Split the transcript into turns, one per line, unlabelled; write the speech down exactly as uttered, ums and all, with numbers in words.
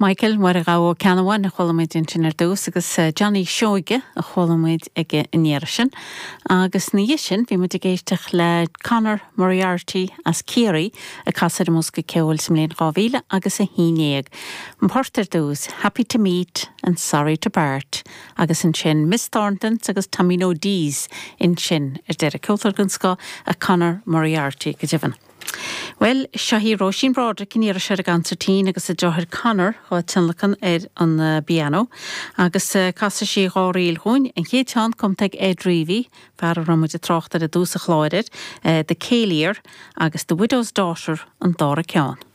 Michael Mháire Ghabha Ó Ceannabháin a chuala muid ansin ar dtús agus eh, Johnny Seoige a chuala muid aige an iarraidh sin. Agus ina dhiaidh sin bhí muid ag éisteacht le Conor Moriarty as Ciarraí ag casadh ar an mbosca ceoil sa mbliain dhá mhíle agus a haon déag. An port ar dtús, Happy to Meet and Sorry to Part, agus ansin Miss Thornton's agus Tommy O'D's ansin ar deireadh ceoltóir den scoth é Conor Moriarty go deimhin. Well, seo í Róisín Broderick in iarra ar an gconsairtín agus a deartháir Conor á tionlacan ar an uh, bpianó, agus uh, casfaidh sí dhá ríl dúinn an chéad cheann cumtha ag Ed Reavy, fear a raibh muid ag trácht ar i dtús an chláir, uh, The Céilír agus The Widow's Daughter an dara ceann.